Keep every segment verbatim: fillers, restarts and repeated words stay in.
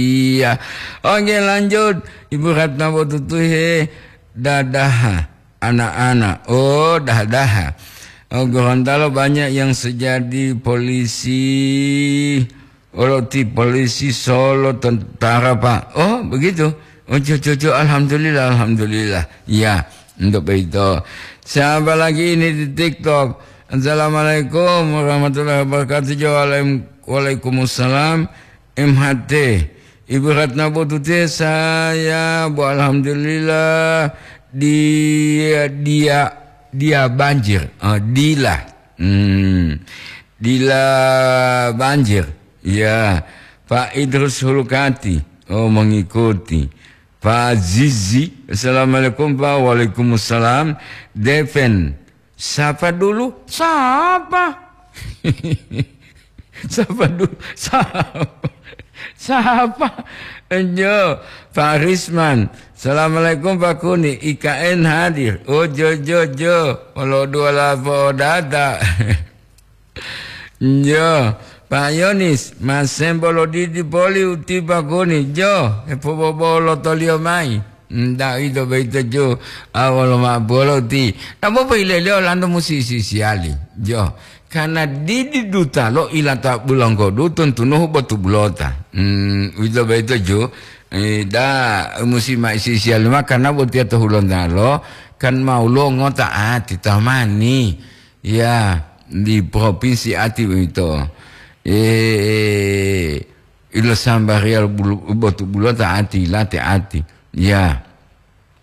Iya. Oke, lanjut. Ibu Ratna Botutuhe, dadaha anak-anak. Oh, daha-daha. Oh, Gorontalo banyak yang sejadi polisi, oloti polisi Solo, tentara, Pak. Oh, begitu. Oh, cucu, alhamdulillah, alhamdulillah. Ya, untuk begitu. Siapa lagi ini di TikTok? Assalamualaikum warahmatullahi wabarakatuh. Waalaikum-, waalaikumsalam. M H T. Ibu Ratna Botute, saya, Bu, alhamdulillah, dia, dia, dia banjir. Ah, dila. Hmm. Dila banjir. Ya. Pak Idrus Hulkati. Oh, mengikuti. Pak Zizi. Assalamualaikum, Pak. Waalaikumsalam. Deven. Sapa dulu? Sapa? Sapa dulu? Sapa? Sapa? Enjo, Pak Risman. Assalamualaikum, Pak Kuni. I K N hadir. Oh, jo, jo, jo. Olo dua lapo data. Jo, Pak Yonis, masembo lo didi poli uti Pak Kuni. Jo, hepobobolo toliyo mai. Nda ito boyito ju, awolo ma'o bolo ti. Namo pohileliyo olanto musi sisiyali. Jo, karna didi dutalo ilata bulonggodu tuntunuhu botu bulota. Hmm, uwito boyito ju, eh, da musi ma'o sisiyali ma karna botiya to Hulontalo, kan ma woluwo ngota ati tamani. Ya, di propinsi ati boyito. Eh, ilo sambariya bulu-, botu bulota ati, late ati. Ya.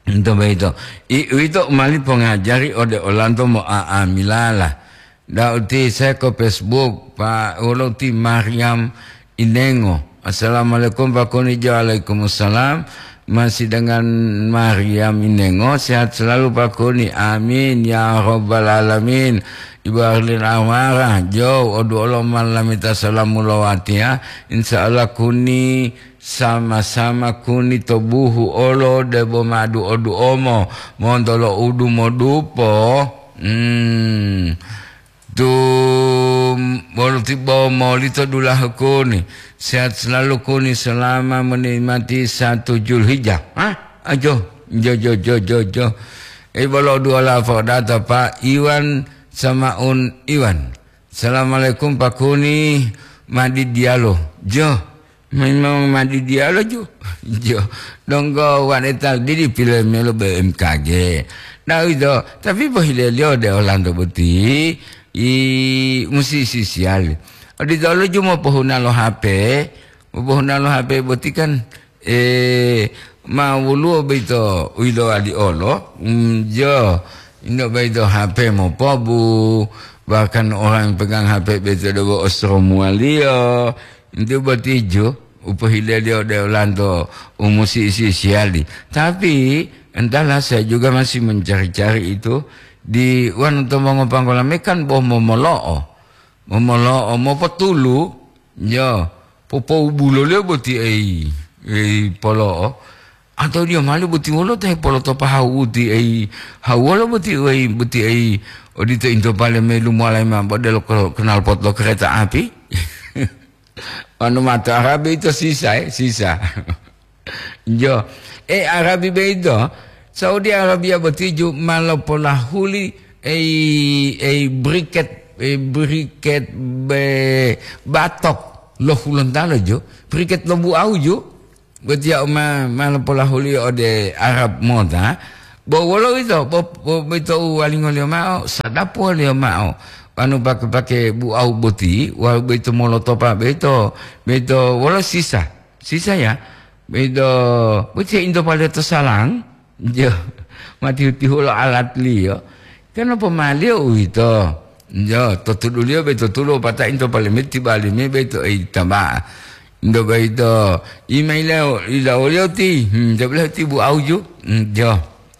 Ento boyito. I-, uwito u mali pongajari ode olanto mo'a'amilala. Da'u ti seko Facebook, pa-, wolo ti Mariam Inengo. Assalamualaikum, Pak Kuni. Jo, waalaikumsalam. Masih dengan Mariam Inengo. Sehat selalu, Pak Kuni. Amin, ya rabbal alamin. Ibu Arlin Amara, jo, odu olo malamita salamu lowatiya. Insya Allah, Kuni, sama-sama Kuni to buhu olo debo madu odu omo, monto lo udu modupo. Hmm. Tu bolo tibo molito dulahu Kuni. Sehat selalu Kuni, selama menikmati satu Julhijjah. Hah? Ajo, jo, jo, jo, jo, jo. Eh, bolo dua lapo data, Pak Iwan Samaun Iwan. Assalamualaikum, Pak Kuni, madi dialo. Jo. Memang madi dialo ju. Jo, donggo wanita didi pilemelo B M K G. Nah, uwito, tapi pohileliyo de olanto boti, i, musi sisiyali. Oditolo ju mopohuna lo H P, mopohuna lo H P boti kan, eh, ma woluwo boyito u yilowali olo, mm, jo, ino boyito H P mopobu, bahkan orang pegang H P boyito debo osromuwaliyo, Enti boti ju, u pohileliyo ode olanto u musi isi-isiyali. Tapi, entahlah, saya juga masih mencari-cari itu di wanu to mongopanggola me kan bo momolo'o. Momolo'o, mopotulu, yo, popoubuloliyo boti ei, ei polo'o. Atau diyo mali boti wolo ta hepolotopa hawuti ei, hawuwolo boti ei, boti ei, odito into pale me lumowalayi mao bodelo ko-, knalpot lo kereta api? Wanu mato Arabi ito sisa, eh, sisa. Jo. Eh, Arabi boyito, Saudi Arabia boti ju ma lopolahuli ei, ei briket, ei briket be-, batok lo Hulontalo ju, briket lo buau ju. Botiya u ma, ma lopolahuli ode Arab mota, bo wolo uwito, bo, bo, boyito u walingoliyo mao, sadapuwoliyo mao, wanu pake-pake buau boti, wawu boyito molotopa boyito, boyito wolo sisa, sisa ya, boyito, botiya into paliyo to salang, jo, ma tihu-tihulo alatliyo, kan lopomaliyo uwito, jo, to tuduliyo boyito tulo, pata into palime tibalime boyito ei taba. Ndo boyito, imaila ila oliyo ti, hmm, jabila ti bu auju, hmm, jo.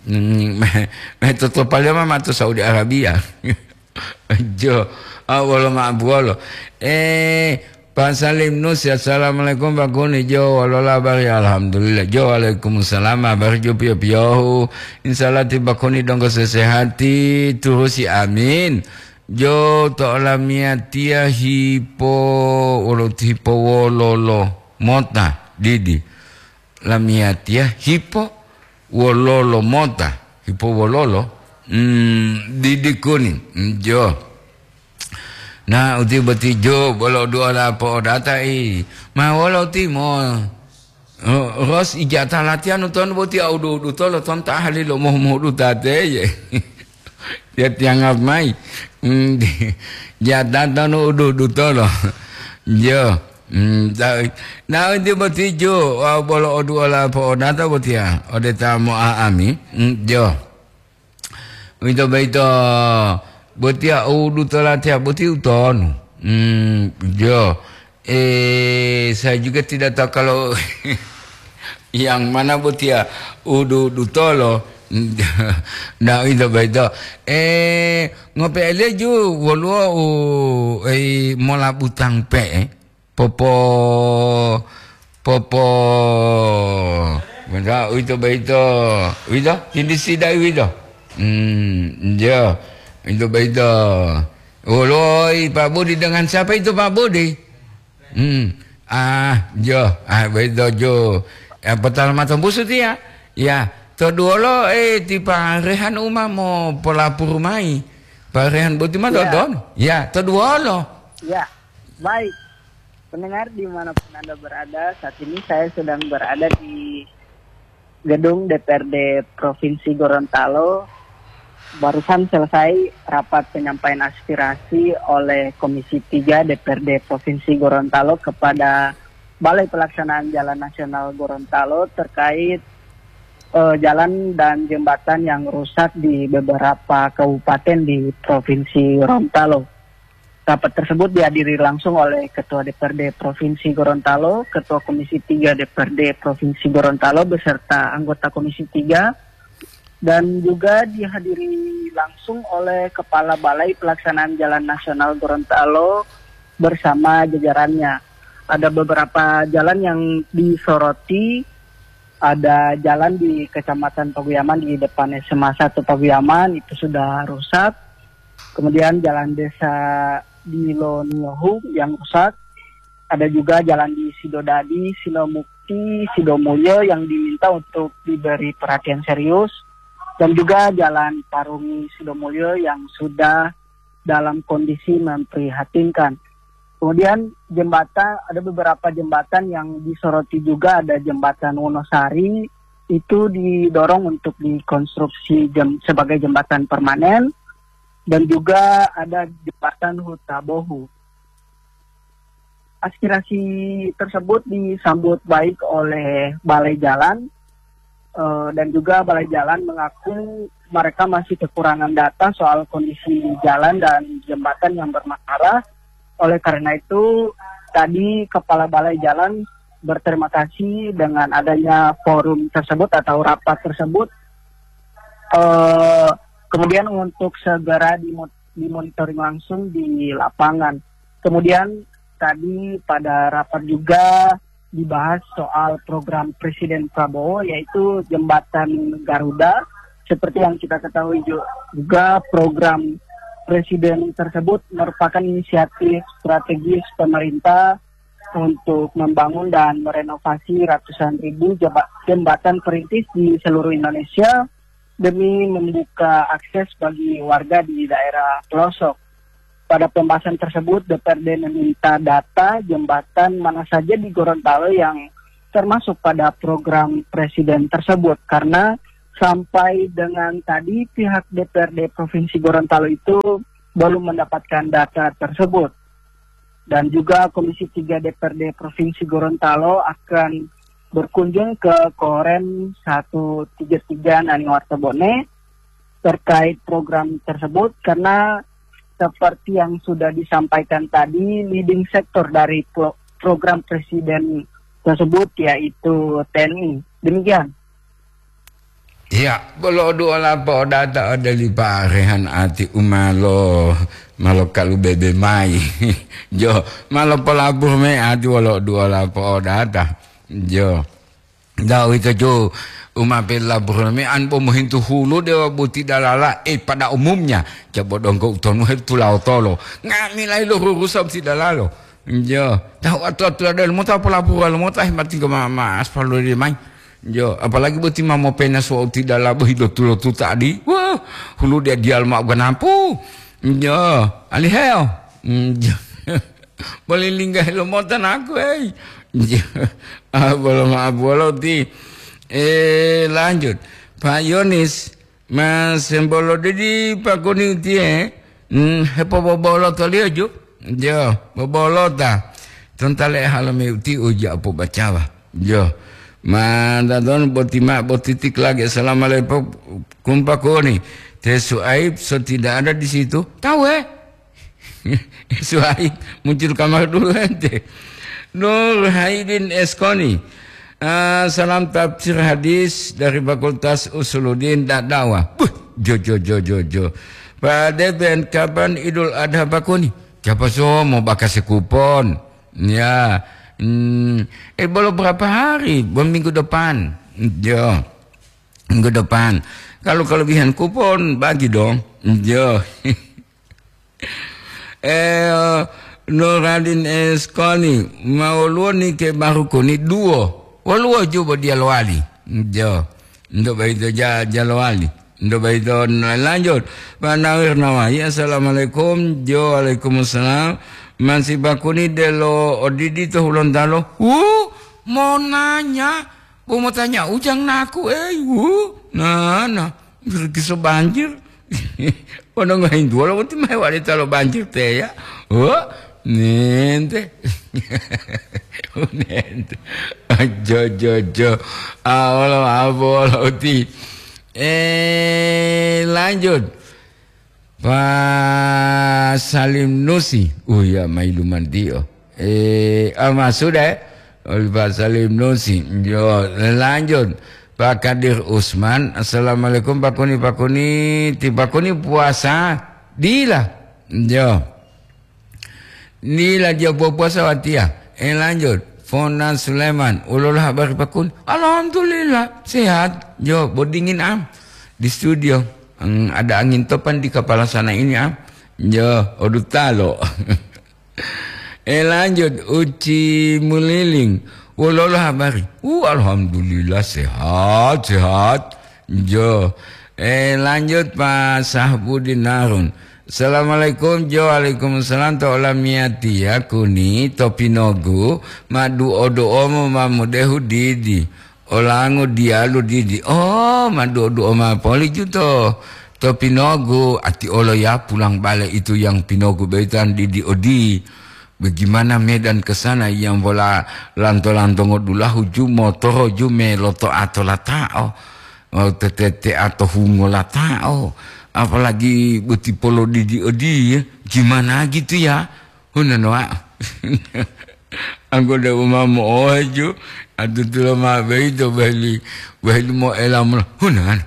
Hmm, me, me totopaliyo ma mato Saudi Arabia. Jo, ah, wolo ma buwolo. Eh, Pak Salim Nus, assalamualaikum, Pak Kuni. Jo, wolo labari? Alhamdulillah. Jo, waalaikumsalam. Habari jo piyo-piyohu. Insaallah ti Pak Kuni donggo sesehati, turusi, amin. Jo, to olamiyatiya hipo, wolo hipo wololo mota. didi. Lamiyatiya hipo wololo mota, hipo wololo, mm, didi kuni, mm, jo. Na uti boti jo, bolo dua la po'odata i, ma wolo timo. Oh, ros ijata latihan tonu boti au du-, dutolo ton ta ahli lo mohu-mohu dutate ye. Ya tiangap mai. Hmm, jata tonu udu-, dutolo. Jo. Hmm, ta-, na uti boti jo, au bolo odu ola po'odata botiya, ode ta mo'a'ami. Hmm, jo. Uwito boyito, botiya u dutola tiya boti utonu. Hmm, jo. Eh, saya juga tidak tahu kalau yang mana botiya u du-, dutolo. Nah, uwito boyito. Eh, ngope'e leju woluwo u, eh, mola butang pe'e. Popo-, popo-, Benda, uwito boyito. Uwito, tindisi da'i uwito. Hmm, iya. Uwito boyito. Oloi, Pak Budi, dengan siapa itu, Pak Budi? Hmm. Ah, jo. Ah, boyito jo. Eh, potala mato busu tiya. Ya, to duwolo, eh, ti Pak Rehan uma mo polapuru mayi. Pak Rehan boti ma Ya. Dodon? Ya, to duwolo. Ya, baik. Pendengar dimanapun Anda berada, saat ini saya sedang berada di gedung D P R D Provinsi Gorontalo. Barusan selesai rapat penyampaian aspirasi oleh Komisi tiga D P R D Provinsi Gorontalo kepada Balai Pelaksanaan Jalan Nasional Gorontalo terkait, eh, jalan dan jembatan yang rusak di beberapa kabupaten di Provinsi Gorontalo. Rapat tersebut dihadiri langsung oleh Ketua D P R D Provinsi Gorontalo, Ketua Komisi tiga D P R D Provinsi Gorontalo beserta anggota Komisi tiga, dan juga dihadiri langsung oleh Kepala Balai Pelaksanaan Jalan Nasional Gorontalo bersama jajarannya. Ada beberapa jalan yang disoroti, ada jalan di Kecamatan Paguyaman di depan S M A satu Paguyaman itu sudah rusak. Kemudian jalan desa di Loniohu yang rusak. Ada juga jalan di Sidodadi, Sinomukti, Sidomulyo yang diminta untuk diberi perhatian serius. Dan juga jalan Parungi Sidomulyo yang sudah dalam kondisi memprihatinkan. Kemudian jembatan, ada beberapa jembatan yang disoroti juga, ada jembatan Wonosari, itu didorong untuk dikonstruksi jem-, sebagai jembatan permanen, dan juga ada jembatan Hutabohu. Aspirasi tersebut disambut baik oleh Balai Jalan, eh, dan juga Balai Jalan mengaku mereka masih kekurangan data soal kondisi jalan dan jembatan yang bermasalah. Oleh karena itu, tadi Kepala Balai Jalan berterima kasih dengan adanya forum tersebut atau rapat tersebut, eh, kemudian untuk segera dimo-, dimonitoring langsung di lapangan. Kemudian tadi pada rapat juga dibahas soal program Presiden Prabowo, yaitu Jembatan Garuda. Seperti yang kita ketahui ju-, juga, program Presiden tersebut merupakan inisiatif strategis pemerintah untuk membangun dan merenovasi ratusan ribu jeba-, jembatan perintis di seluruh Indonesia demi membuka akses bagi warga di daerah pelosok. Pada pembahasan tersebut, D P R D meminta data jembatan mana saja di Gorontalo yang termasuk pada program Presiden tersebut, karena sampai dengan tadi pihak D P R D Provinsi Gorontalo itu belum mendapatkan data tersebut. Dan juga Komisi tiga D P R D Provinsi Gorontalo akan berkunjung ke Korem satu tiga tiga Naniwarta Bone terkait program tersebut, karena seperti yang sudah disampaikan tadi, leading sector dari pro-, program Presiden tersebut yaitu T N I. Demikian. Iya, bolo duola po'odata ode li Pak Rehan ati u malo, malo kalubebe mayi. Jo, malo polabur me ati wolo duola po'odata. Jo. Nda uwito jo, u ma pelabur me an bo mohintu hulu dewa boti dalala, eh, pada umumnya, jabo donggo utonu he tulaotolo. Nga'amila lo rurusa boti dalalo. Jo, tahu atu-atu ada lemo ta polapuwa lemo ta himati ko ma, ma aspal lori mai. Jo, apalagi boti ma mopena so ti dala bohi dotu-lotu tadi. Wah, hulu dia dial ma ganapu. Jo, aliheo. Jo. Boleh linggah lo mota naku, hei. Jo. Ah, bolo ma bolo ti. Eh, lanjut. Pak Yonis, Mas, sembolo didi pakuni utiye, mm, hepobobolo toliyo ju. Jo, bobolota. Tontale halame uti uja apo bacawa. Jo. Ma dadon boti ma botitik lagi. Assalamualaikum pakuni. Te Suaib so tidak ada di situ. Tahu, eh? Suhaib, muncul kamar dulu ente. Nur Haidin Eskoni. Ah, salam tafsir hadis dari Fakultas Usuluddin Dakdawa. Buh, jo, jo, jo, jo, jo. Pak Deben, kapan Idul Adha pakuni? Siapa so mau bakasi kupon? Ya, hmm, eh, belum berapa hari, belum minggu depan. Jo, minggu depan. Kalau kelebihan kupon, bagi dong. Jo. Eh, Nuradin Eskoni, ma woluwo ni ke baru kuni duwo. Woluwo ju bo diya lowali. Jo. Ndo baito ja, ja lowali. Ndo baito na-, lanjut. Pak Nawir Nawawi, assalamualaikum. Jo, waalaikumsalam. Masih bakuni delo odidi to Hulontalo. Wu, mau nanya. Bo motanya ujang naku, eh, wu. Nah, nah. Kiso banjir. Ono ngohintuwa lo boti ma hewali talo banjir teya. Oh, nente. Nente. Jo, jo, jo. Ah, olo, apa, olo, uti. Eh, lanjut. Pak Salim Nusi. Oh ya, mailuman dio. Eh, ah, ma sudah, eh? Oli Pak Salim Nusi. Yo, lanjut. Pak Kadir Usman. Assalamualaikum, Pak Kuni, Pak Kuni. Ti Pak Kuni puasa? Dila. Yo. Dila dia puasa watiya. Eh, lanjut. Fona Sulaiman. Ulola habari, Pak Kuni? Alhamdulillah. Sehat. Yo, bodingin am. Di studio. Hmm, ada angin topan di kepala sana ini am. Yo, odutalo. Eh, lanjut, Uci Muliling. Wololo habari? Uh, alhamdulillah, sehat, sehat. Jo. Eh, lanjut, Pak Sahbudin Harun. Assalamualaikum, Jo. Waalaikumsalam. To olamiyatiya kuni, to pinogu, ma duo-duomo ma mudehu didi. Olango diyalu didi. Oh, ma duo-duo ma poli juto. To pinogu, ati olo ya pulang bale itu yang pinogu boyito an didi odi. Bagaimana medan ke sana yang bola lanto-lanto ngodulahu ju motoro ju me loto ato latao. Oh, tetete ato hungo latao. Apalagi boti polo didi odi ya. Gimana gitu ya? Hunanoa. Anggoda uma mo'ohaju, atutulo ma boyito boheli, boheli mo'ela mula. Hunan,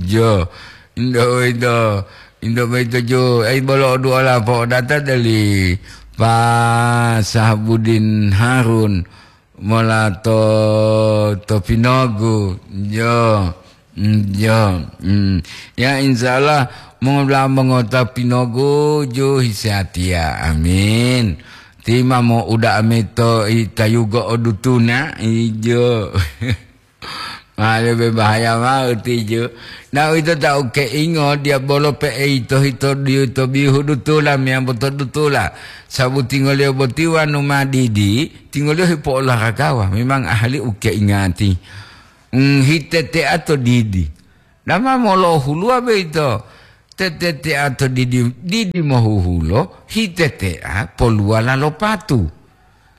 jo. Indo boyito, indo boyito jo. Ai bolo oduola po'odata dali Pak Sahabudin Harun mola to, to Pinogu. Jo. Mm, ya, mm. Ya, insya Allah, mongola mongota pinogu ju hisatiya. Amin. Tima mo uda amito itayugo odutuna, ijo. Male be bahaya mau tijo. Na ito tau keingo dia bolo pe ito hito diu to bihu dutula miyambo to dutula. Sabu tingoliyo boti wanu madidi, tingoliyo hipo olahragawa. Memang ahli u keingati. Mm, hitetea to didi. Dama molohuluwa boyito, tetetea to didi, didi mohuhulo, hitetea poluwala lo patu.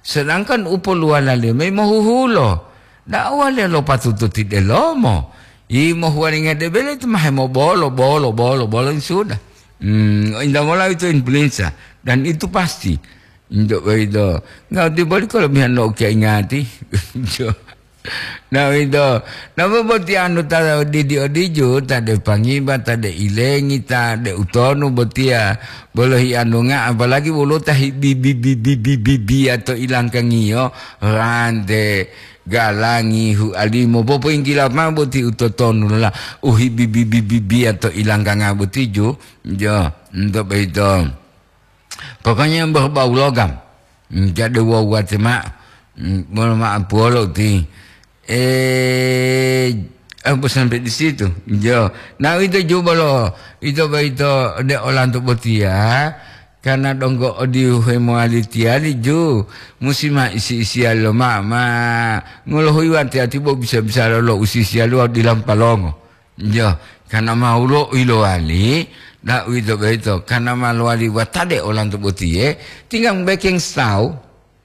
Sedangkan u poluwalaliyo mayi mohuhulo, da'uwa le lo patu to tidelomo. Yi mohuwalinga debele itu ma hemobolo, bolo, bolo, bolo, sudah. Hmm, indamola itu influenza. Dan itu pasti. Untuk boyito, nggak dibalik kalau mihan lo kaingati. Na uwito, napa boti anu ta didi odiju, ta de pangiba, ta de ilengi, ta de utonu botiya, bolo hianunga, apalagi woluwo ta hibibibibibibiya to ilangkangiyo, rante, galangi, hualimo, popoinggila mao boti utotonu la, uhibibibibibiya to ilangkanga botiju, jo, nto boyito. Pokoknya berbau logam. Jadi wawate ma'o, mm, bolo ma'o puwolo ti, eh, apa sampai di situ? Jo, nah, itu juga lo, itu ba ito de olanto botiya, karena donggo odiu hemowali tiyali ju, musi ma isi-isiya lo ma, ma ngolohuyi wati ati bo bisa-bisa lo, lo usisiya lo dilampalongo. Jo, karena ma ulo ilowali, da uwito boyito, karena ma lowali watade olanto botiye, tinggang bekeng stau,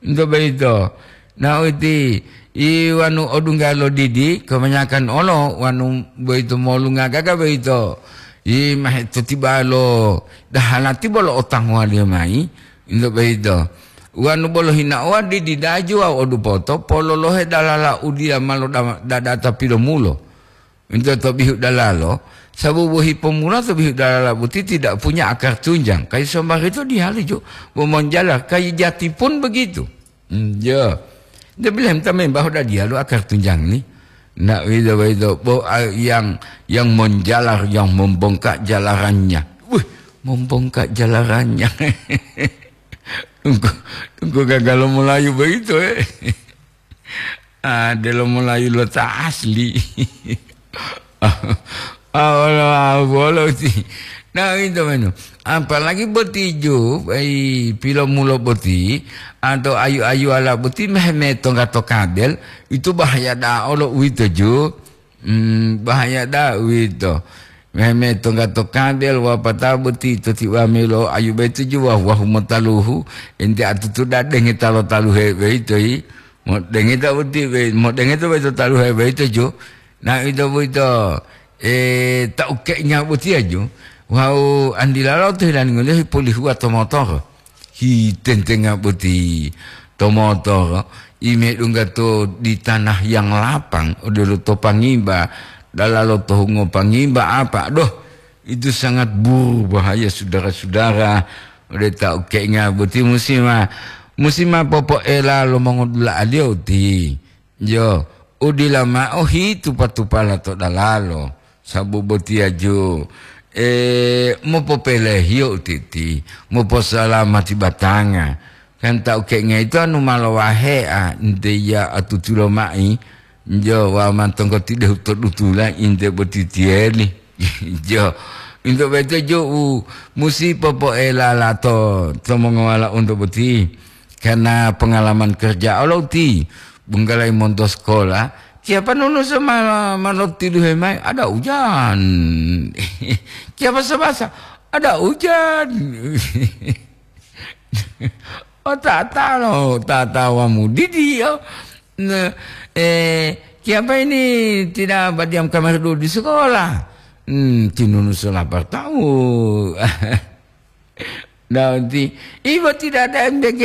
into boyito. Na uti, i wanu odungga lo didi, kebanyakan olo wanu boyito molunga gaga boyito. I mahe totiba lo dahalati bolo otanguwaliyo mayi, into boyito. Wanu bolo hinaowa didi daju wawu odupoto, pololohe dalala udiya malo da-, dadata pilomulo. Into to bihu dalalo, sababu hipomula to bihu dalala boti tidak punya akar tunjang. Kayu sombarito dihaluju, bo monjala kayu jati pun begitu. Hmm, ya. Dia bilang, "Entah memang dah dia lo akar tunjang ni." Nak wida wida, bo, ah, yang, yang menjalar, yang membengkak jalarannya. Wih, membengkak jalarannya. Engko, engko gagal Melayu begitu, eh. Ah, delo Melayu lo ta asli. Ah, wala, ah, wala uti. Nah, itu menu. Apalagi boti ju, ai, pilomulo boti, atau ayu-ayu ala boti, mehme tongga to kabel, itu bahaya da olo uwito ju. Hmm, bahaya da uwito. Mehme tongga to kabel, wapata boti to tiwa melo ayu betu ju, wah, wahu motaluhu, ente atutu da denge talo taluhe beito, i. Modengeta boti be-, modengeta boyito taluhe boyito ju, na ito boyito, eh, ta ukeinga botiya ju, wawu andilalo to hilalingo liyo hipolihuwa to motoro, hitentenga boti to motoro, i medungga to di tanah yang lapang, odelo to pangimba, dalalo to hungo pangimba apa, doh, itu sangat buru bahaya, saudara-saudara. Ode ta ukeinga boti musi ma, musi ma popoela lo mongodula'aliyo uti. Yo, udila ma'o hitupa-tupala to dalalo, sabu botiya ju, e, mopopelehiyo utiti, moposalamati batanga. Kan ta ukeinga ito anu ma lowahea, nte iya atutulo ma'i, jo, wawu ma tonggoti dehu to dutula inte boti tiyeli. Jo, into boyito jo u musi popoelala to, to mongowala unto boti. Karena pengalaman kerja olo uti, bunggalayi monto sekolah, kiyapa nunusa ma-, ma lotiluhe mayi, ada ujan. Kiyapa sabasa, ada ujan. Oh, tata lo, tata wamu didi, oh. Nah, eh, kiyapa ini tidak berdiam kamar dulu di sekolah? Hmm, tinunu salah bertahu. Nah, nanti, ibu tidak ada M B G.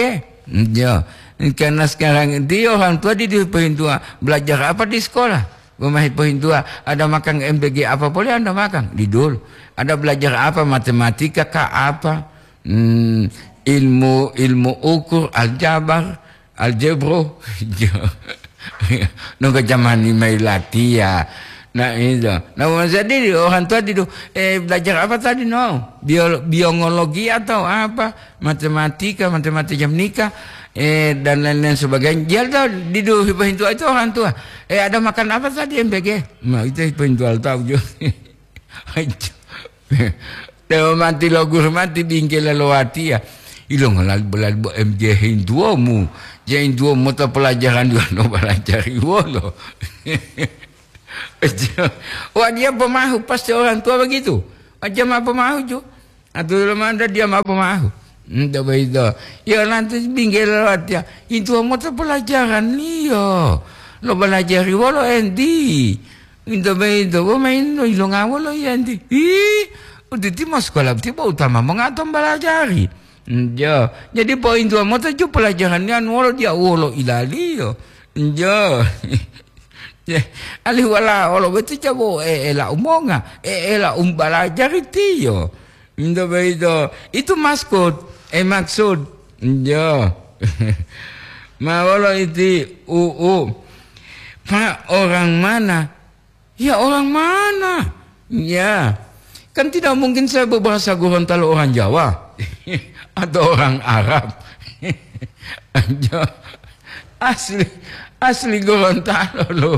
Hmm, ya. Karena sekarang dia orang tua di, di pohintua, belajar apa di sekolah? Pemahi pohintua, ada makan M B G apa boleh Anda makan? Di dulu. Ada belajar apa? Matematika kah apa? Hmm, ilmu, ilmu ukur, aljabar, aljebro. Nunggu zaman ni mayi latiya. Nah, itu. Nah, masa di orang tua di, eh, belajar apa tadi, no? Bio-, biologi atau apa? Matematika, matematika nikah, eh, dan lain-lain sebagainya. Dia tahu di, di, itu orang tua. Eh, ada makan apa tadi M B G? Nah, itu itu tahu juga. Dewa mati lo guru mati bingkela lo watiya. Ilongo lali bo M J hintuwomu. Je hintuwomu mota pelajaran dua no balajari wolo. Wah, dia pemahu, pasti orang tua begitu. Aja ma pemahu ju. Atau lo manda dia ma pemahu. Nda begitu. Ya nanti bingkela lo watiya. Hintuwomu mota pelajaran liyo. Lo balajari wolo endi. Into boyito, bo mayi lo ilonga wolo yiyenti? Hi, uditi ma sekolah boti bo utama mongato mbalajari. Njo, jadi pointuwa mota ju pelajaran anu wolo diya wolo ilaliyo. Njo. Ye, alihu wala wolo boti jabo e-, ela umonga, e-, ela umbalajari tiyo. Nto boyito, itu maksud, eh, maksud. Njo. Ma wolo iti u, u. Pak, orang mana? Ya, orang mana? Ya. Kan tidak mungkin saya berbahasa Gorontalo orang Jawa. Atau orang Arab. Jo, asli, asli Gorontalo lo.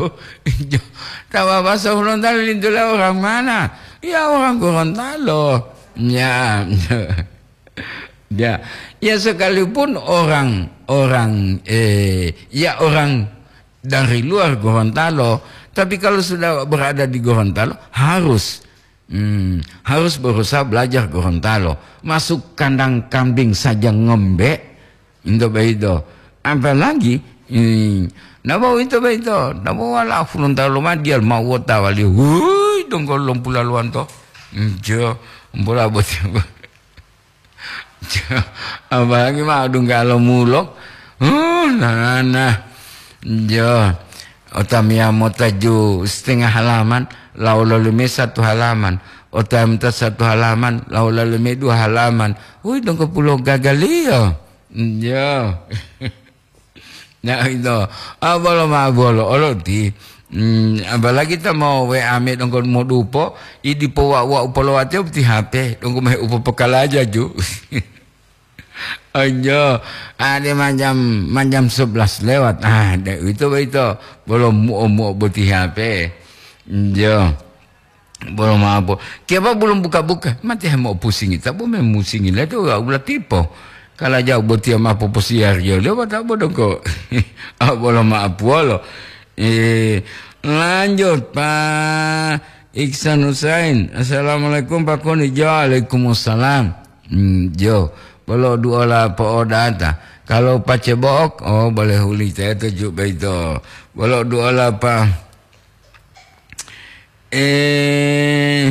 Jo, ta bahasa Gorontalo lintula orang mana? Ya, orang Gorontalo. Ya, ya, ya, sekalipun orang, orang, eh, ya, orang dari luar Gorontalo, tapi kalau sudah berada di Gorontalo, harus, hmm, harus berusaha belajar Gorontalo. Masuk kandang kambing saja ngombe, into beito. Apalagi, hmm, nabo into beito, nabo wala Gorontalo madial mau wota wali, hui, donggo lompula luanto. Jo, mbola boti. Apalagi ma dunggalo mulok. Huh, nana. Jo. Otamiya mota ju setengah halaman, lawo lolime satu halaman. Otamiya mota satu halaman, lawo lolime dua halaman. Hui, donggo pulo gagaliyo. Jo. Nah, ito. Ah, bolo ma bolo, olo ti. Hmm, apalagi ta mo W A me donggo modupo, i dipo wa, wa upolowateo ti H P, donggo me upopokalaja ju. Anjo, ade manjam, manjam sebelas lewat. Ah, de, ito, ito. Bolo muo-muo boti H P. Jo. Bolo mapo. Kiapa bulum buka-buka? Mate hemo pusingi. Tabo me musingi leto wa ula tipo. Kala jau botia mapo posiario lewa tabo dongko. Ah, bolo mapo wolo. Eh, lanjut, Pak Iksan Husain. Assalamualaikum, Pak Koni. Jo, waalaikumsalam. Hmm, jo. Bolo duola po'odata. Kalau pacebo'ok, oh, boleh huli teto ju beito. Bolo duola pa. Eh,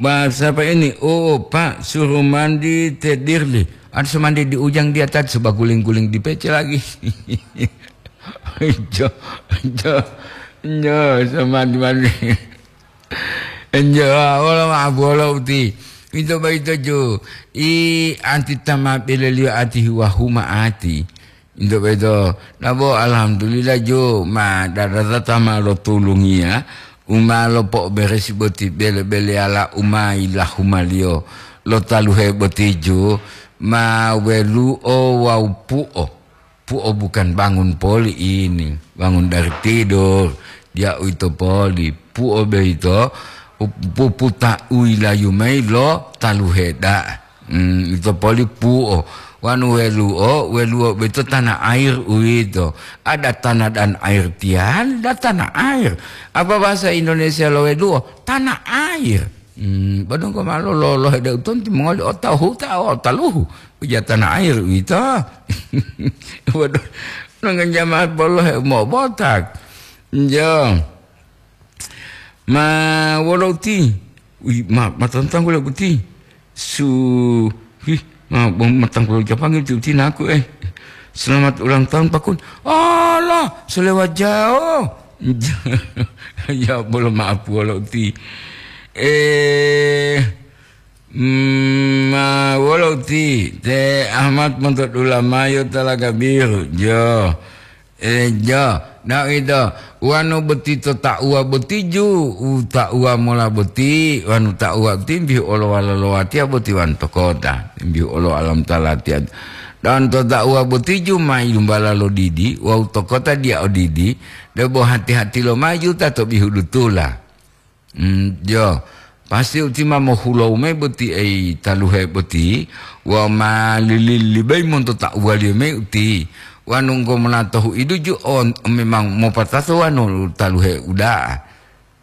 bahasa apa ini? Oh, Pak, suruh mandi tedirli. Ada suruh mandi di ujang dia tadi, suruh guling-guling di pece lagi. Jo, jo, jo, suruh mandi-mandi. Enjo, wolo ma bolo uti. Ito baito jo. I anti tama beleliyo ati huwa huma ati. Ito baito. Nabo alhamdulillah jo. Ma dada tama lo tulungiya. Uma lo po beresi boti bele-bele ala uma ilahumaliyo. Lo taluhe boti jo. Ma welu'o wawu pu'o. Pu'o bukan bangun poli ini, bangun dari tidur. Dia uwito poli. Pu'o boyito, pu-, puputa uyilayu mayi lo taluhe da'a. Hmm, ito poli pu'o. Wanu welu'o, welu'o boyito tanah air uwito. Ada tanah dan air tiali, ada tanah air. Apa bahasa Indonesia lo welu'o? Tanah air. Hmm, bodonggo ma lololohe de utonti mongoli otahuta o taluhu. Uja tanah air uwito. Waduh, nongen jamaat bolohe mobotak. Jo. Ma wolo uti. Ui, ma, ma tantang wolo uti. Su, hi, ma, ma tantang wolo Japang uti, uti naku, eh. Selamat ulang tahun, Pakun. Allah, selewat jauh. Ya, bolo maaf wolo uti. Eh, Mm, ma wolo uti, te Ahmad monto dulamayo talaga biru, jo. E, jo, na ito, wanu boti to ta'uwa boti ju, u ta'uwa mola boti, wanu ta'uwa boti mbihu olo walalo watiya boti wanu to kota, mbihu olo alam talatiya. Dan to ta'uwa boti ju ma yilumbala lo didi, wawu to kota dia odidi, debo hati-hati lo maju ta to bihu dutula. Mm, jo, pasti uti ma mohulowu mayi boti ei taluhe boti, wawu ma lili-lilibeyi monto ta'uwaliyo mayi uti. Wanu nggo monatohu iduju on, memang mopatato wanu taluhe uda'a.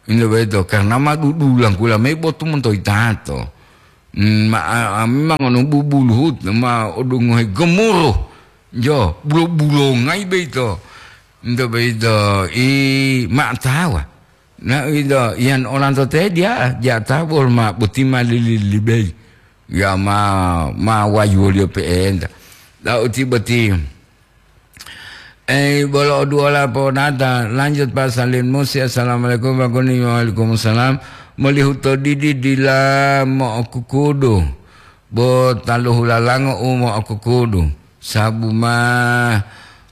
Ilo boyito, karna ma dudulangkula mayi botu monto yitato. Mm, ma, a, a, memang ono bubuluhu, ma odungohe gemuruh. Jo, bulo-bulongayi boyito. Ento boyito, i, ma tawa. Na ito, iyan olanto te dia, dia ta bol ma boti ma lili-libei. Ya ma, ma wayuwoliyo pe'enta. Lau ti boti. Eh, bolo oduwola ponata, lanjut Pak Salim Musi, "Assalamualaikum, Pak Kuni." "Waalaikumsalam." Molihu to didi dila mo'okukudu, bo taluhu lalango u mo'okukudu. Sabu ma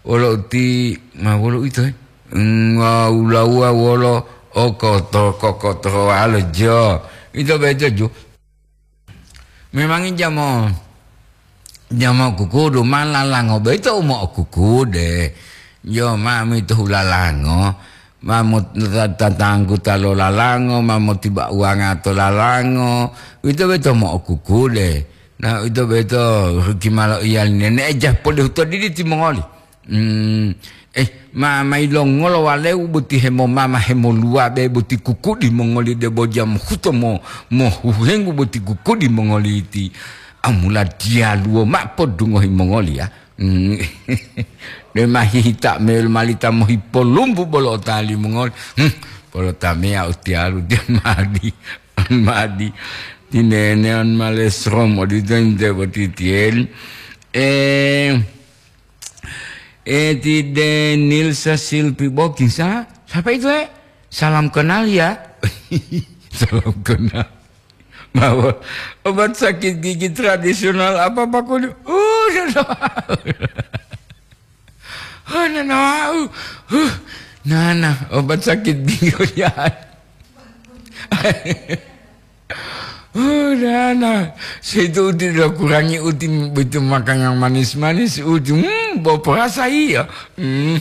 wolo uti, ma wolo uwito, eh? Nga ulawuwa wolo okoto-, kokotowalo jo. Ito beto ju. Memang jamo Ja mo'okukudu, ma lalango boyito u mo'okukude. Jo, ma mito hulalango, ma mo-, ta-, tatanggu ta lo lalango, ma motiba uwanga to lalango, uwito boyito mo'okukude. Na uwito boyito ruki malo iyali nene'e ja podehu to didi timongoli. Hmm, eh, ma, ma yilongolo walewu boti hemomama hemoluwabe boti kukudi mongoli debo ja mohuto mo-, mohuhengu boti kukudi mongoli ti amula diyaluwo ma podungohi mongoli ya. Hmm. De ma hihita mel malita mohipolumbu bolo otali mongoli. Hmm, bolo tameya utiyalu dia madi. Madi. Tinene on malesrom odito inte boti tiyen. Eh, Eh, ti Denilsa Silpi Bokisa. Siapa itu, eh? Salam kenal ya. Salam kenal. Bawa obat sakit gigi tradisional apa, Pak Kudi? Oh, nana. Oh, nana. Uh, uh. Nana, obat sakit gigi ya. Oh, nana, saya itu uti lo kurangi uti begitu makan yang manis-manis uti, hmm, bawa perasa iya. Hmm.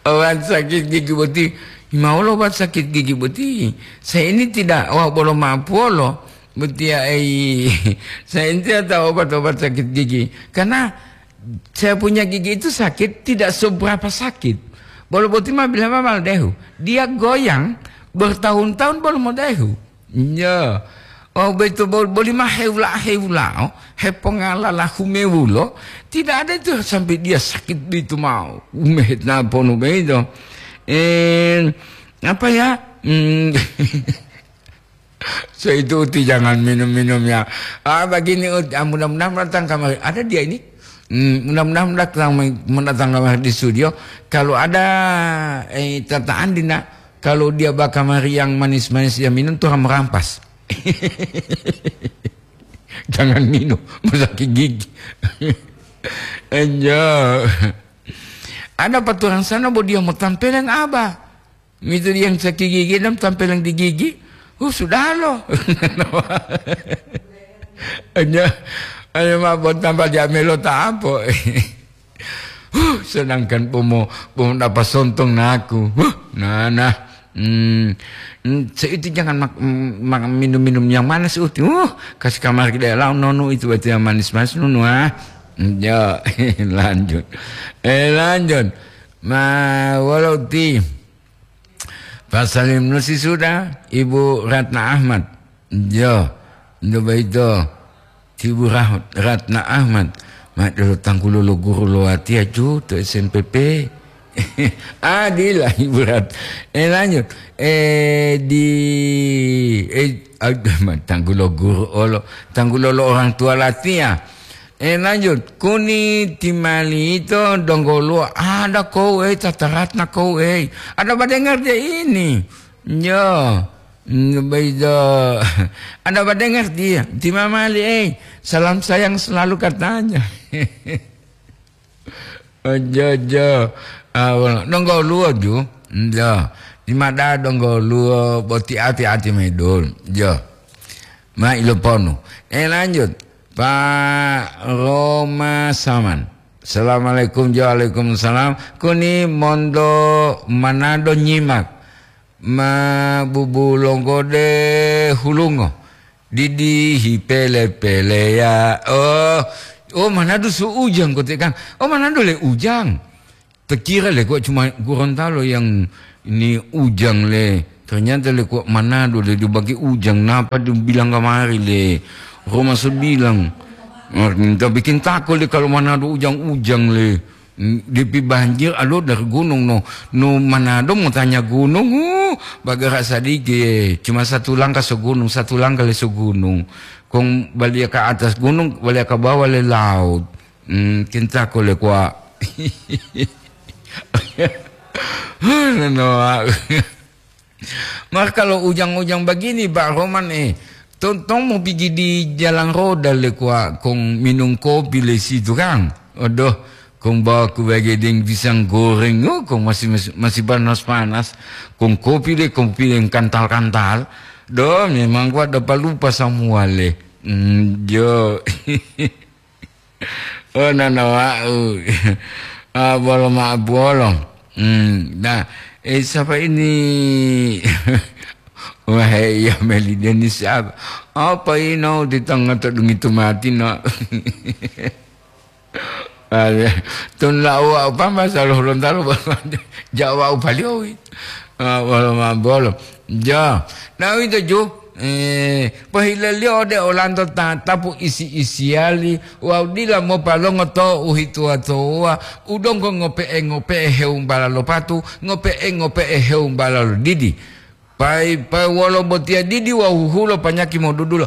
Obat sakit gigi boti, mau lo obat sakit gigi boti. Saya ini tidak, wah, bolo mapuolo boti ya, eh. Saya ini tidak tahu obat-obat sakit gigi. Karena saya punya gigi itu sakit, tidak seberapa sakit. Bolo boti ma bilang ma dehu. Dia goyang bertahun-tahun bolo modehu. Ya. Oh, betul, bol-, boli ma hewula-hewula, oh, hepongala lahu mewulo. Tidak ada itu sampai dia sakit itu mau. Umehet naponu begitu. Eh, apa ya? Hmm. So itu uti jangan minum-minum ya. Ah, begini uti, ah, mudah-mudahan datang kamari. Ada dia ini. Hmm, mudah-mudahan datang, mendatang kamari di studio. Kalau ada, eh, tataan dina, kalau dia bakamari yang manis-manis dia minum tuh merampas. Jangan minum, masakit gigi. Enjo. Ada paturan sana bo dia mau tampeleng aba. Mitu yang sakit gigi dan tampeleng di gigi. Uh, sudah lo. Hanya, hanya ma bon tambah dia melo ta apo. Huh, sedangkan pomo, pomo dapat sontong naku. Huh, nah, nah. Hmm, hmm, seuti jangan mak-, mm, mak-, minum-minum yang manis uti. Uh, kasih kamar kita lau nonu itu, itu yang manis-manis nonu, ah. Hmm, ya, lanjut. Eh, lanjut. Ma, walau ti. Pasalim nusi sudah, Ibu Ratna Ahmad. Yo, ndo baito, ti Ibu Rah-, Ratna Ahmad. Ma dulu tanggulo lo guru lo watiya ju to S M P P. Adila Ibu Rat-, eh, lanjut. Eh, di, eh, aduh, ma tanggulo guru olo, tanggulo lo orang tua latiya. Eh, lanjut. Kuni timali ito donggoluwo, ada kou ei, tataratna kou ei. Ada badengar dia ini. Yo, mm, baido. Ada badengar dia. Timamali ei. Salam sayang selalu katanya. Ojo, ojo. Ah, wala-, donggoluwo ju. Yo. Timada donggoluwo boti ati-ati maidul. Yo. Ma iloponu. Eh, lanjut. Pak Roma Saman. Assalamualaikum, waalaikumsalam. Kuni mondo Manado nyimak. Ma bubu longgode hulungo. Didi hipele-pele ya. Oh, oh, Manado su ujang kote kan. Oh, Manado le ujang. Terkira le kok cuma Gorontalo yang ini ujang le. Ternyata le kok Manado le dibagi ujang. Napa dibilang kamari le? Roma sebilang. Oh, minta bikin tako le kalau Manado ujang-ujang le. Mm, dipi banjir alo dari gunung no. No Manado mau tanya gunung, uh, bagara sadiki, eh. Cuma satu langkah segunung, satu langkah le segunung. Kong balia ke atas gunung, balia ke bawah le laut. Hmm, kinta ko le kwa. Nanoa. Maka kalau ujang-ujang begini, Pak Roman, eh, tong, tong mau pergi di jalan roda le kwa, kong minum kopi le situ kan. Aduh, kong bawa ku bagedeng pisang goreng, oh, kong masih, masih, masih panas-panas. Kong kopi le, kopi yang kantal-kantal. Do, memang kuwa do palupa samuwale. Mm, jo. Oh, nana wa'u. Ah, bolo ma bolo. Hmm, nah, eh, siapa ini? Wah, iya, Meli Denis siapa? Apa ino di tengah tu dungi tu mati, no? Tun lau apa masalah Lontar, Jawa upaliowi. Ah, bolo ma bolo. Ja, nah, itu ju. Eh, pohileliyo ode olanto tatapu isi-isiyali wawu dila mopalongo to uhituwa-tuwawuwa, u donggo ngope'e-ngope'e hewumbala lo patu, ngope'e-ngope'e hewumbala lo didi. Pai-pai wolo botiya didi wawu huhulo panyaki modudulo.